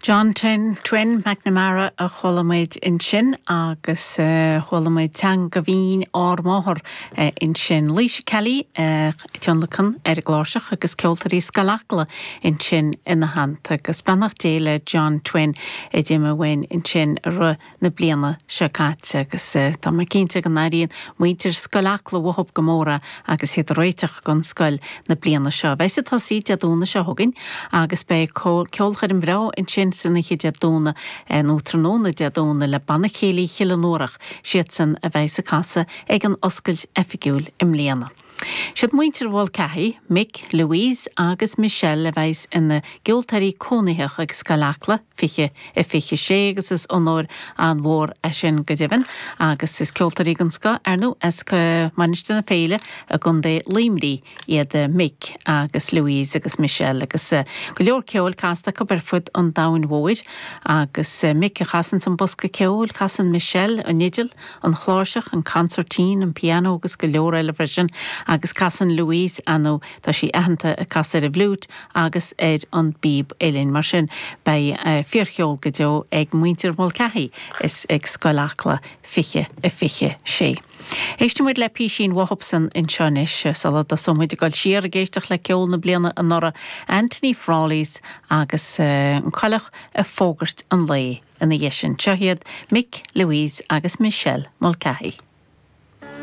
John Twin, Twin McNamara a chuala muid ansin agus chuala muid Teanga Bhinn Ár Máthar ansin. Laoise Kelly tionlacan ar an gcláirseach agus ceoltóirí Scoil Acla ansin ina theannta agus beannacht Dé le John Twin a d'imigh uainn ansin i rith na bliana seo caite agus tá mé cinnte go n-airíonn muintir Scoil Acla uathub go mór é agus iad ag réiteach don scoil na bliana seo. Bheidh ag tosaí Dé Domhnaigh seo chugainn agus beidh ceolchoirm bhreá ansin san oíche Dé Domhnaigh nó tráthnóna Dé Domhnaigh le Banna Céilí Chill an Uarach, siadsan a bheidh ag casadh ag an oscailt oifigiúil i mbliana. Siad muintir Mhulcahy, Mick, Louise agus Michelle a bheidhs ina gceoltóirí cónaitheach ag Scoil Acla 20 a 26 agus is onóir an-mhór é sin go deimhin agus is ceoltóirí den scoth ar ndóigh as Mainistir na Féile i gContae Luimnigh iad Mick agus Louise agus Michelle agus go leor ceoil casta acu ar fud an domhain mhóir agus Mick a chasanns an bosca ceoil, casann Michelle an fhidil. an chláirseach, an consairtín, an pianó agus go leor eile freisin agus casann Louise, ar ndóigh tá sí aitheanta ag casadh ar an bhfliúit agus ar an bpíob uilleann. Mar sin beidh fíorcheol go deo ag muintir Mulcahy is ag Scoil Acla 20 a 26. Éistfidh muid le písín uathubsan anseo anois sula dtosóidh muid ag dul siar ag éisteacht le ceol na bliana anuraidh, Anthony Frawley's agus an coileach ag fógairt an lae. Ina dhiaidh sin, seo iad Mick, Louise agus Michelle Mulcahy.